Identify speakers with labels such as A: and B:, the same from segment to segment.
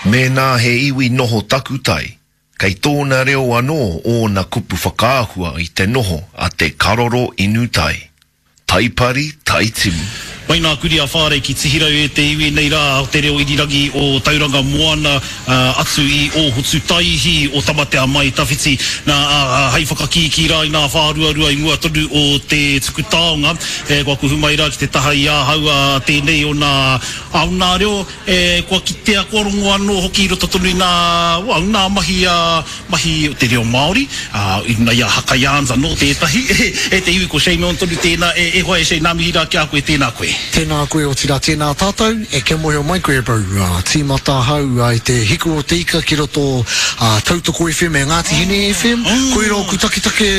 A: Mēnā he iwi noho takutai, kei tōna reo anō ōna kupu whakaahua i te noho a te karoro inu tai. Taipari, taitimu.
B: Mai nā Kuri a Whārei ki Tihirau e te iwi nei rā o te reo irirangi o Tauranga Moana atu i Ōhotutaihi o Tamatea Mai Tawhiti. Nā, hei whakakīkī rā i nā whāruarua i mua tonu o te tuku taonga, kua kuhu mai rā ki te taha i ahau a tēnei o nā, o nā reo E, kua kitea, kua rongo anō hoki i roto tonu i ngā, well, ngā mahi a, mahi o te reo Māori, ā, i runga i a Haka Yarns anō tētahi, e te iwi ko Shane Milne tonu tēnā, e, e hoa e Shane, nā mihi rā ki a koe, tēnā koe.
C: Tēnā koe, otirā tēnā tātou, e kia mōhio mai koe bro, ā, tīmata ahau i te Hiku o te Ika ki roto ā, Tautoko FM e Ngāti Hine FM, koira oku taketake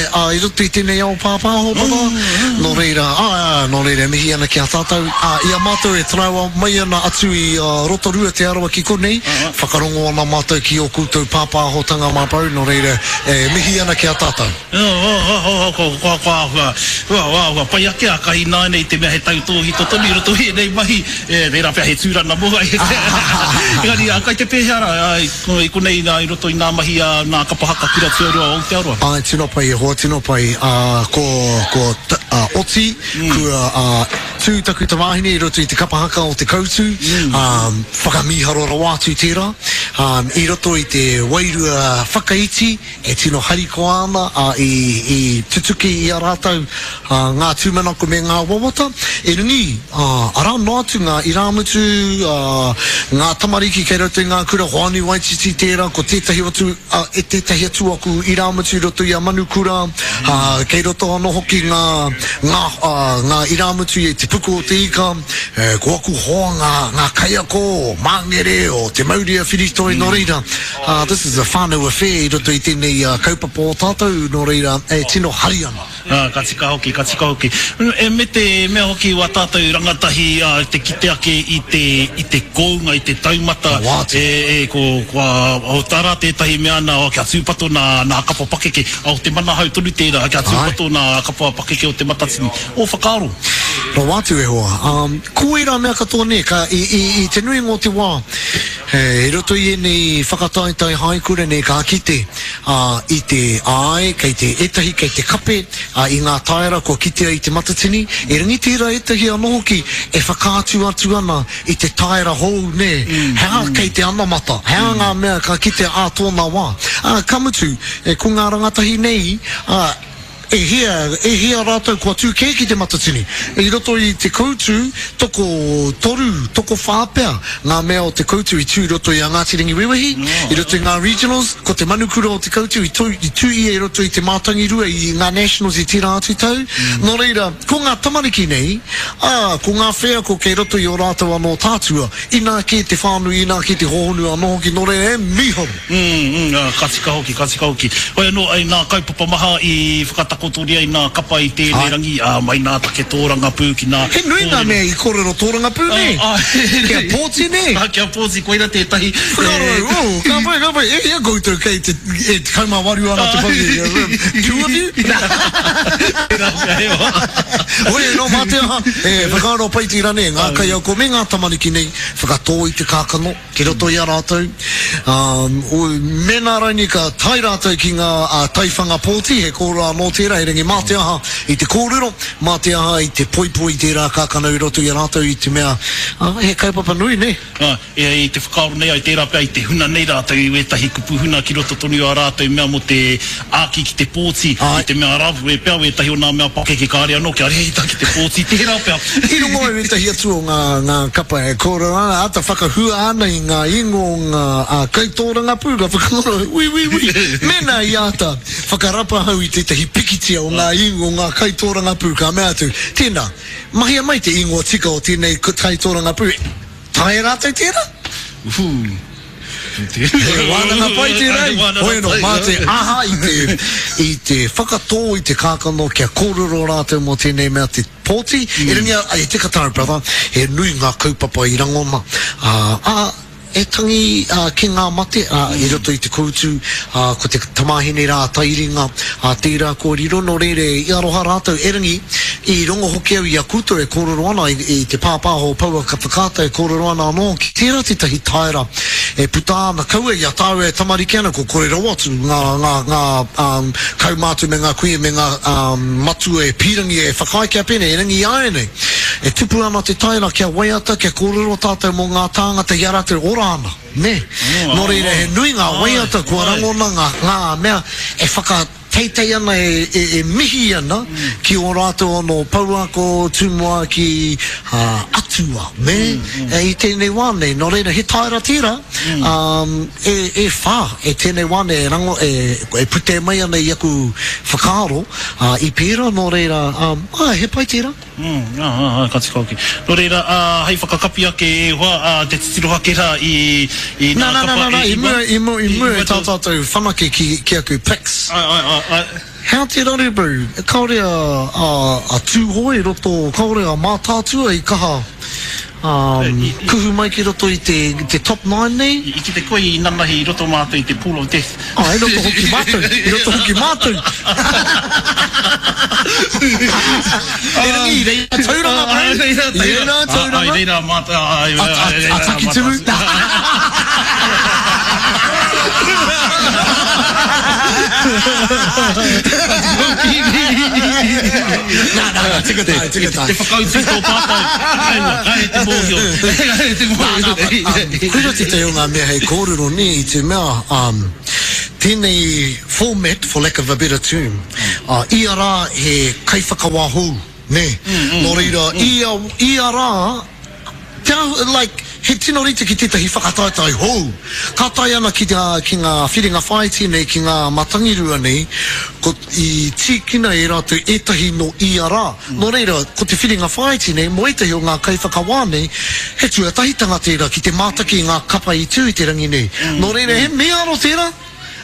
C: ā, i roto i tēnei ao pāpāho brother, nō reira, āe, āe, nō reira e mihi ana ki a tātou. Ā, i a mātou e taraiwa mai ana atu i Rotorua, Te Arawa ki konei, whakarongo ana mātou ki ō koutou pāpāhotanga mā Bro, nō reira, e mihi ana ki a tātou.
B: Kua āhua, kua āhua pai ake a Kahi ināianei i te mea he tautōhito tonu i roto i ēnei mahi, tērā pea he tūranga mō Engari, kai te pēhea rā i konei i roto i ngā mahi a ngā kapa haka kura tuarua o Aotearoa?
C: Āe, tino pai e hoa, tino pai. Kua oti, kua Tū taku tamāhine i roto i te kapa haka o Te Koutu, ā, whakamīharo rawa atu tērā. Ā, i roto i te wairua whakaiti e tino harikoa ana, ā, i, i tutuki i a rātou, ā, ngā tūmanako me ngā wawata. Erangi, ā, arā noa atu ngā irāmutu, ā, ngā tamariki kei roto i ngā kura, Hoani Waititi tērā, ko tētahi atu, ā, e tētahi atu aku irāmutu i roto i a Manukura, ā, kei roto anō hoki ngā, ngā, ā, ngā irāmutu i Te Puku o te Ika, e, ko aku hoa ngā, ngā kaiako o Māngere, o Te Maurea Whiritoi, nō reira, ā, this is a whānau affair i roto i tēnei kaupapa o tātou, nō reira, e tino hari ana.
B: Ā, ka tika hoki, ka tika hoki. E, me te mea hoki wā tātou rangatahi, ā, te kite ake i te, i te kounga, i te taumata, e, e, ko, kua, o, arā tētahi mea ana, oh, kia tūpato nā, nā kapa pakeke, ā, o te manahau tonu tērā, kia tūpato nā kapa pakeke o Te Matatini. Ō
C: whakaaro? Rawa atu e hoa. Ā, ko ērā mea katoa nē, ka, i, i, i te nuinga o te wā, he, i roto i ēnei whakataetae haikura nei ka kite, ā, i te, āe, kei te, ētahi kei te kape, ā, i ngā taera kua kitea i Te Matatini, erangi tērā ētahi anō hoki e whakaatu atu ana i te taera hou, nē, he aha kei te anamata, he aha ngā mea ka kitea ā tōna wā. Ā, ka mutu, e, ko ngā rangatahi nei, ā, e hia, e hia rātou kua tū kē ki Te Matatini. I roto i Te Koutu, tokotoru, tokowhā pea ngā mea o Te Koutu i tū i roto i a Ngāti Rangiwewehi, i roto i ngā regionals, ko te manukura o Te Koutu i tū, i tū ia i roto i te Mātangirua i ngā nationals i tērā atu tau. Nō reira, ko ngā tamariki nei, ā, ko ngā wheako kei roto i ō rātou anō tātua, inā kē te whānui, inā kē te hōhonu anō hoki, nō reira, e mīharo!
B: Mm, mm, ka tika hoki, ka tika hoki. Hoi anō, i nā kaupapa maha i whakatakotoria i nā kapa i tēnei rangi, ā, mai nā take tōrangapū ki nā
C: He nui ngā mea i kōrero tōrangapū, nē? Kia pōti, nē?
B: Ā, kia pōti, koira tētahi.
C: Whakaaro au, oh, ka pai, ka pai, e hia koutou kei te, e 18 ana te pōti, two of you?
B: Tērā pea, he wā.
C: Hoi anō, mā te aha, e whakaaro pai tērā, nē, ngā kaiako me ngā tamariki nei, whakatō i te kākano. Ki roto i a rātou, ā, mēnā rainī ka tae rātou ki ngā taiwhanga pōti, he kōrero anō tērā, erangi mā te aha i te kōrero, mā te aha i te poipoi i tērā kākano i roto i a rātou i te mea, ā, he kaupapa nui, nē.
B: Ā, e, i te whakaaro nei ai, tērā pea i te huna nei rātou i wētahi kupu huna ki roto tonu i ā rātou mea mō te āki ki te pōti, i te mea arā pea wētahi o nā mea pakeke kāre anō kia rēhita ki te pōti, tērā pea.
C: I rongo au ētahi atu o ngā, ngā kapa e kōrero ana, āta whakahua ana i ngā ingoa o ngā ā, kaitōrangapū, ka whakaaro, ui, ui, ui, mēnā i āta whakarapa ahau i tētahi pikitia o ngā ingoa o ngā kaitōrangapū, ka mea atu, tēnā, mahia mai te ingoa tika o tēnei kaitōrangapū, Taea rātou tērā? He wānanga pai tērā, hoi anō, mā te aha i te, i te whakatō i te kākano kia kōrero rātou mō tēnei mea te pōti, erangi a, e tika tāu brother, he nui ngā kaupapa i rangona, ā, ā, e tangi ā, ki ngā mate, ā, i roto i te koutu, ā, ko te tamāhine rā a Tairinga, ā, tērā kua riro, nō reira i aroha rātou, erangi, I rongo hoki au i a koutou e kōrero ana i, i te pāpāho o Pouaka Whakaata e kōrero ana anō hoki. Tērā tētahi taera e puta ana, kaua i a tāua e tamariki ana, kua kore rawa atu ngā, ngā, ngā um, kaumātua me ngā kuia me ngā um, matua e pīrangi e whakaae kia pēnei, erangi āianei e tupu ana te taera kia waiata, kia kōrero tātou mō ngā tāngata i a rātou ora ana, nē? Nō reira he nui ngā waiata kua rangona ngā, ngā mea e whaka. Teitei ana e, e, e mihi ana ki ō rātou anō pouako, tumuaki, ā, atua, nē, e, i tēnei wā nei. Nō reira, he taera tērā, ā, e, e whā, e tēnei wā nei e rango, e, e putē mai ana i aku whakaaro, ā, i pērā, nō reira, ā, āe, he pai tērā.
B: Mm, ā, ā, ā, ka tika hoki. Nō reira, ā, hei whakakapi ake e hoa, ā, te titiro ake rā i, i
C: nā, nā, nā, nā, nā, i mua, i mua, i mua i tā tātou whanake ki, ki aku pics.
B: Āe, āe, āe, āe.
C: Hea te raru bro, kāore a, a, a Tūhoe i roto, kāore a Mātaatua i kaha, ā, kuhu mai ki roto i te, te top nine nei.
B: I kite koe i nanahi i roto mātou i te pool of death.
C: Ā, i roto hoki mātou, i roto hoki mātou. Erangi, i reira tauranga, bro. I reira tauranga.
B: I reira mātou,
C: a, a, a Takitimu. Nā, nā, nā, tika tae, tika tae.
B: Te whakautu i tō pātai. Aua, kāre te mōhio. Kāre te mōhio.
C: Nā, nā, but, koira tētahi o ngā mea hei kōrero nē, i te mea, tēnei format, for lack of a better term, ia rā he kaiwhakawā hou, nē. Nō reira, ia, ia rā, Te āhua, like, he tino rite ki tētahi whakataetae hou. Ka tae ana ki, ki ngā whiringa whāiti nei, ki ngā matangirua nei, ko, i tīkina e rātou ētahi nō ia rā. Nō reira, ko te whiringa whāiti nei, mō ētahi o ngā kaiwhakawā nei, he tuatahitanga tērā ki te mātaki i ngā kapa i tū i te rangi nei. Nō reira, he mīharo tērā.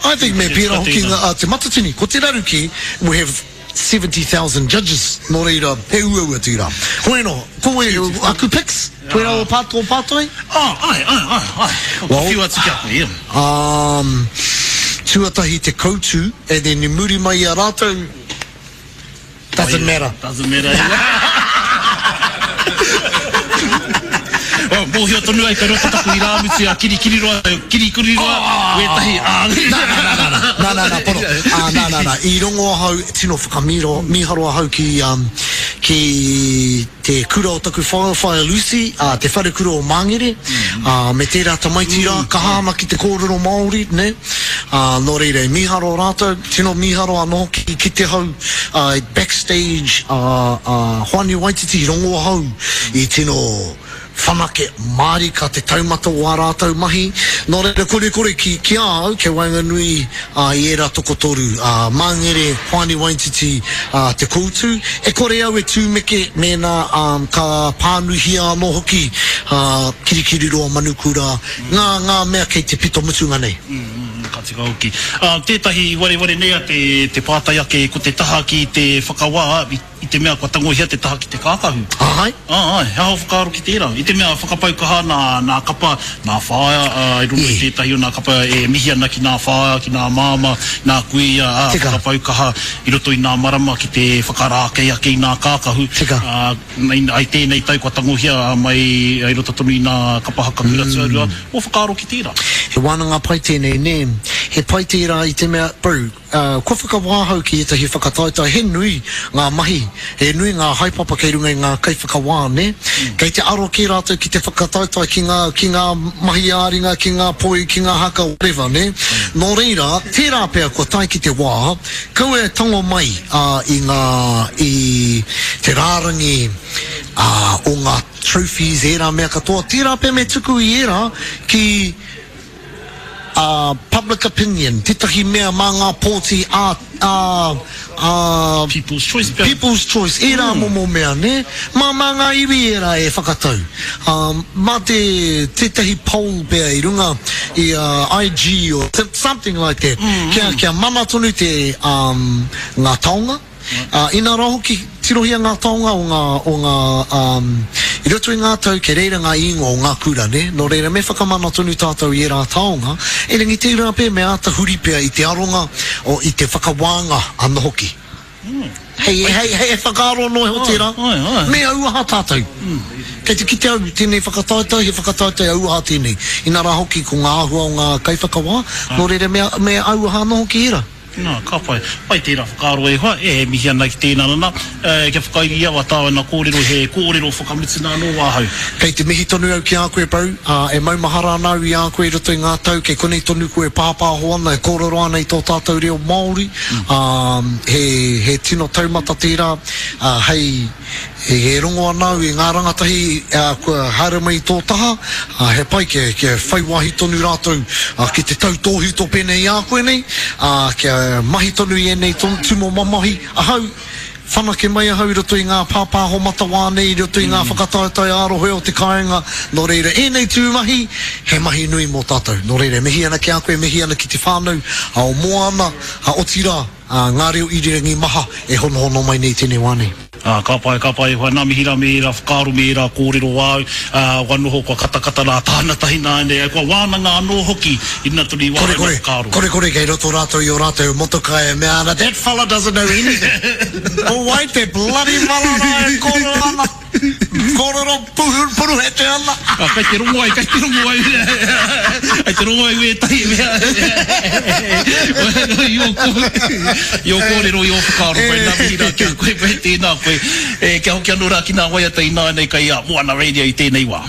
C: I think me pērā hoki ngā, te Matatini. Ko te raru kē, we have. 70,000 judges, nō reira, he uaua tērā. Hoi anō, ko wai, aku picks, koirā o pā, tō pātai?
B: Oh, āe, āe, āe, āe. Kua whiu atu ki a koe, ia.
C: Um, tuatahi te koutu, and then i muri mai i a rātou, doesn't matter.
B: Doesn't matter, ia. Oh, mōhio tonu ai kei roto taku irāmutu a Kirikiriroa, Kirikiriroa, wētahi, ā.
C: Nā, nā, nā, nā, nā, nā, nā, nā, pono. Ā, nā, nā, nā, i rongo ahau, tino whakamīro, mīharo ahau ki, um, ki te kura o taku whaea, Whaea Lucy, ā, te wharekura o Māngere, ā, me tērā tamaiti rā, kaha ana ki te kōrero Māori, nē. Ā, nō reira, i mīharo rātou, tino mīharo anō hoki ki te hau, ā, backstage, ā, ā, Hoani Waititi, i rongo ahau i tino whanake mārika te taumata o ā rātou mahi. Nō reira, korekore ki, ki a au, kei waenganui ā, i ērā tokotoru, ā, Māngere, Hoani Waititi, ā, Te Koutu. E kore au e tūmeke mēnā, ā, ka pānuihia anō hoki, ā, Kirikiriroa Manukura, ngā, ngā mea kei te pito mutunga nei.
B: Ka tika hoki. Ā, tētahi i wareware nei a te, te pātai ake ko te taha ki te whakawā i, I te mea kua tangohia te taha ki te kākahu.
C: Āe.
B: Āe, he aha ō whakaaro ki tērā? I te mea whakapau kaha nā, nā kapa, nā whaea, ā, i rongo i tētahi o nā kapa e mihi ana ki nā whaea, ki nā māmā, nā kuia, ā,
C: Tika.
B: whakapau kaha i roto i nā marama ki te whakarākei ake i nā kākahu.
C: Tika.
B: Ā, i tēnei tau kua tangohia mai i roto tonu i nā kapa haka kura tuarua. Ō whakaaro ki tērā?
C: He wānanga pai tēnei, nē. He pai tērā i te mea, bro, Ā, kua whakawā ahau ki ētahi whakataetae, he nui ngā mahi, he nui ngā haepapa kei runga i ngā kaiwhakawā, nē? Kei te aro kē rātou ki te whakataetae ki ngā, ki ngā mahi ā-ringa, ki ngā poi, ki ngā haka, whatever, nē? Nō reira, tērā pea kua tae ki te wā, kaua e tango mai, ā, i ngā, i te rārangi, ā, o ngā trophies, ērā mea katoa, tērā pea me tuku i ērā ki, ā, public opinion, tētahi mea mā ngā pōti ā, ā, ā,
B: People's choice pea.
C: People's choice, ērā momo mea, nē? Mā, mā ngā iwi ērā e whakatau. Ā, mā te, tētahi poll pea i runga i a IG or something like that, kia, kia mana tonu te, ā, ngā taonga. Ā, inā rā hoki, tirohia ngā taonga o ngā, o ngā, ā, i roto i ngā tau kei reira ngā īngoa o ngā kura, nē? Nō reira, me whakamana tonu tātou i ērā taonga, erangi tērā pea me āta huri pea i te aronga, o, i te whakawānga anō hoki. Hei, hei, hei whakaaro noa iho tērā.
B: Āe, āe.
C: Me auaha tātou. Kei te kite au i tēnei whakataetae, he whakataetae auaha tēnei. Inā rā hoki ko ngā āhua o ngā kaiwhakawā, nō reira me, me auaha anō hoki ērā.
B: Nā, ka pai. Pai tērā whakaaro e hoa, e, e mihi ana ki tēnā nana, e, kia whakairi au a tāu ana kōrero, he kōrero whakamutuna anō ahau.
C: Kei te mihi tonu au ki a koe bro, ā, e maumahara ana au i a koe i roto i ngā tau, kei konei tonu koe e pāpāho ana, e kōrero ana i tō tātou reo Māori, ā, he, he tino taumata tērā, ā, hei, e rongo ana au i ngā rangatahi, ā, kua haere mai i tō taha, ā, he pai kia, kia whai wāhi tonu rātou, ā, ki te tautōhito pēnei i a koe nei, ā, kia mahi tonu i ēnei tūmomo mahi ahau, Whanake mai ahau i roto i ngā pāpāho matawā nei, i roto i ngā whakataetae ā-rohe o te kāinga, nō reira ēnei tū mahi, he mahi nui mō tātou. Nō reira, e mihi ana ki a koe, e mihi ana ki te whānau o Moana, otirā, ngā reo irirangi maha e honohono mai nei i tēnei wā nei.
B: Ā, ka pai, ka pai e hoa, nā mihi rā me ērā whakaaro, me ērā kōrero āu, ā, kua noho, kua katakata rā tāna tahi nāianei, kua wānanga anō hoki i runga tonu i wā
C: rāua whakaaro. Kore kore kei roto rātou i ō rātou motoka e mea ana, That fella doesn't know anything. Ko wai te bloody fella rā e kōrero ana? Kōrero puruhete ana.
B: Ā, kei te rongo ai, kei te rongo ai, kei te rongo ai wētahi mea i ō i ō kōrero, i ō whakaaro koe, nā mihi rā ki a koe, tēnā koe. E, kia hoki anō rā ki ngā waiata ināianei kei a Moana Radio i tēnei wā.